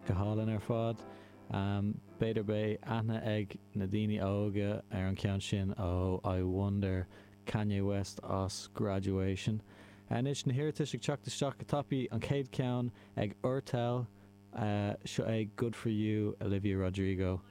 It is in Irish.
Go hálainn ar fad. B'fhéidir beidh aithne ag na daoine óga ar an cheann sin ó I Wonder, Kanye West as Graduation. Anois na hiarratais ag teacht isteach go tapaidh, an chéad cheann ag Urtel, seo é Good For You, Olivia Rodrigo.